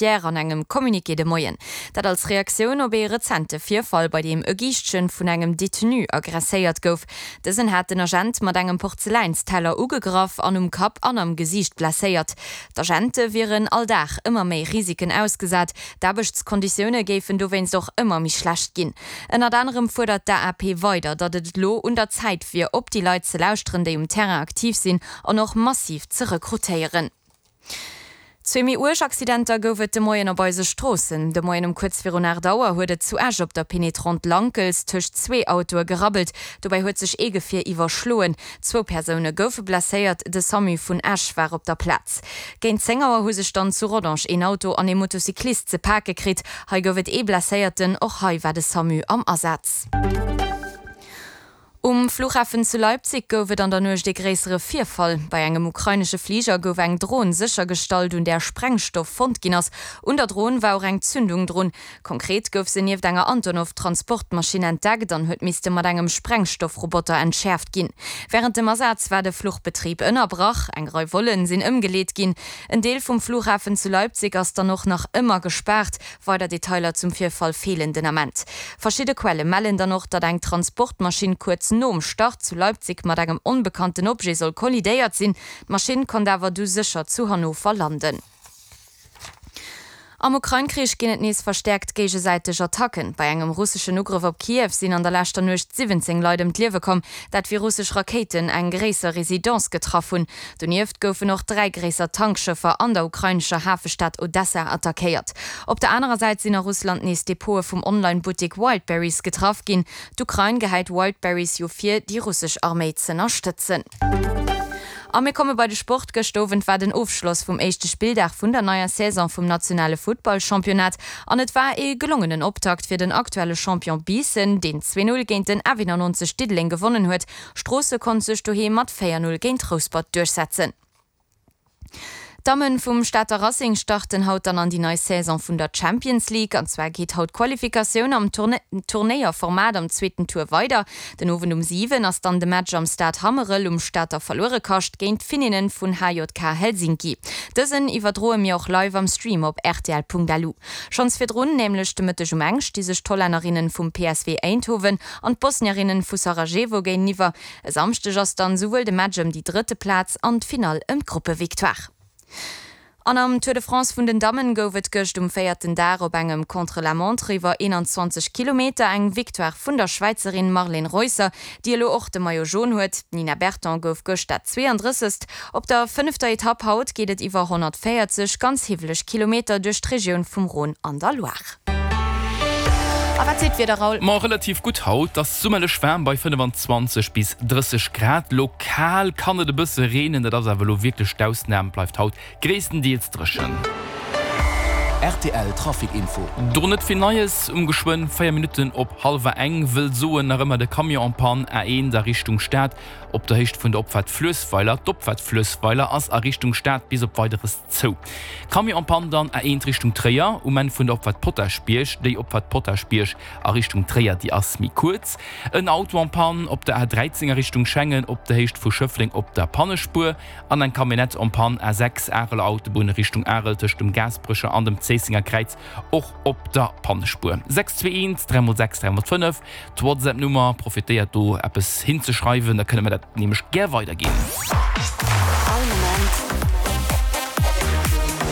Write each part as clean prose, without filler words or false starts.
Judiciaire an engem Communiqué de Moien. Dat als Reaktioun op ee rezente Virfall, bei deem e Giischtchen vun engem Detenu aggresséiert gouf. Dësen hat den Agent mat engem Porzeläinsteller ugegraff an um Kapp an am Gesiicht blesséiert. D'Agente wieren all Dag ëmmer méi Risiken ausgesat, d'Aarbechtskonditioune géifen dowéinst och ëmmer méi schlecht ginn. Ënnert anerem fuerdert d'AAP weider, datt et elo un der Zäit wier, op déi Leit ze lauschteren, déi um Terrain aktiv sinn an och massiv ze rekrutéieren. Zwee méi uerg Accidenter gouf et de Moien op eise Stroossen. De Moien um kuerz virun 8 Auer huet et zu Esch op der Pénétrante Lankels tëscht zwee Autoe gerabbelt. Dobäi huet sech ee Gefier iwwerschloen. Zwou Persoune goufe blesséiert, de Samu vun Esch war op der Plaz. Géint 10 Auer hu sech dann zu Rodange een Auto an ee Motocyclist ze pake kritt. Hei gouf et ee Blesséierten, och hei war de Samu am Asaz. Um Flughafen zu Leipzig gouf et an der Nuecht ee gréissere Virfall. Bei engem ukrainesche Fliger gouf eng Dron séchergestallt, un där Sprengstoff fonnt ginn ass. Un der Dron war och eng Zündung drun. Konkret gouf se nieft enger Antonov-Transportmaschinn entdeckt an huet misste mat engem Sprengstoffroboter entschäerft ginn. Wärend dem Asaz war de Fluchbetrib ënnerbrach, eng Rei Vollen sinn ëmgeleet ginn. En Deel vum Flughafen zu Leipzig ass dann och nach ëmmer gespaart. Weider Detailer zum Virfall feelen den Ament. Verschidde Quelle mellen dann och, datt eng Transportmaschinn kuerz nom Start zu Leipzig mat engem onbekannten Objet soll kollidéiert sinn. D'Maschinn konnt awer du sécher zu Hannover landen. Am Ukrain-Krich ginn et nees verstäerkt géigesäiteg Attacken. Bei engem russeschen Ugrëff op Kiew sinn an der leschter Nuecht 17 Leit ëm d'Liewe komm, dat wéi russesch Rakéiten eng gréisser Residence getraff hunn. Donieft goufen och 3 gréisser Tankschëffer an der ukrainescher Hafestad Odessa attackéiert. Op der anerer Säit sinn a Russland nees Depote vum Online-Buttek Wildberries getraff ginn. D'Ukrain gehäit Wildberries jo vir, déi russesch Arméi z'ënnerstëtzen. A mir komme bei de Sport. Gëscht Owend war den Ofschloss vum éischte Spilldag vun der neier Saison vum nationale Futtballchampionnat an et war ee gelongenen Optakt fir den aktuelle Champion Biissen, deen 2, 0 géint den F91 Diddeleng gewonnen huet. Stroosse konnt sech doheem mat 4, 0 géint Rouspert duerchsetzen. D'Dammen vum Stater Racing starten haut dann an déi nei Saison vun der Champions League. An zwar geet haut d'Qualifikatioun am Turnéierformat am zweeten Tour weider. Den Owend um 7 ass dann de Match am Stade Hammerel um Stater Verluerekascht géint d'Finninnen vun HJK Helsinki. Dësen iwwerdroe mir och live am Stream op rtl.lu. Schonns virdrun, nämlech de Mëtteg um eng, sti sech d'Hollännerinnen vum PSV Eindhoven an d'Bosnierinnen vu Sarajevo géinteniwwer. E Samschdeg ass dann souwuel de Match ëm déi drëtte Plaz an d'Finall ëm d'Gruppevictoire. An am Tour de France vun den Dammen gouf et gëscht um véierten Dag op engem Contre-la-montre iwwer 21 Kilometer eng Victoire vun der Schwäizerin Marlene Reusser, déi elo och de Maillot jaune huet. D'Nina Berton gouf gëscht dat 32. Op der fënnefter Etapp haut geet et iwwer 140 ganz hiwweleg Kilometer duerch d'Regioun vum Rhône an der Loire. A wat seet d'Wieder, Raoul? Ma relativ gutt haut, ass summerlech waarm bei 25 bis 30 Grad. Lokal kann et e bësse reenen, dat ass awer elo wierklech d'Ausnam, bleift haut gréisstendeels dréchen. Rtl Trafic Info. Do net vill Neies, um geschwënn 4 Minutten op hallwer eng, wëll soen nach ëmmer de Camion en panne A1 a Richtung Stad op der Héicht vun der Opfaart Fluessweiler. D'Opfaart Fluessweiler ass a Richtung Stad bis op Weideres Zou. Camion en panne dann A1 Richtung Tréier um Enn vun der Opfahrt Potaschbierg. Déi Opfahrt Potaschbierg a Richtung Tréier, déi ass méi kuerz. En Auto en panne op der A13 a Richtung Schengen op der Héicht vu Schëffleng op der Pannespuer an eng Camionnette en panne A6 Areler Autobunn Richtung Arel tëscht dem Gaasperecher an dem Zéissenger Kräiz och op der Pannespuer. 6 2 1 3 x 6 3 x 5 D'Whatsapp-Nummer, profitéiert do eppes hinzeschreiwen, da kënne mer dat nämlech gär weiderginn. All Moment.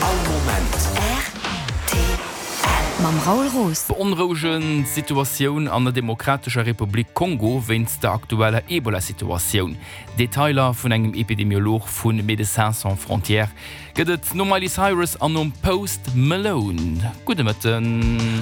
All Moment. Rtl. Mam Raoul Roos. Beonrouegend Situatioun an der Demokratescher Republik Kongo wéinst der aktueller Ebola-Situatioun. Detailer vun engem Epidemiolog vu Médecins Sans Frontières gëtt et nom Miley Cyrus an nom Post Malone. Gudde Mëtten.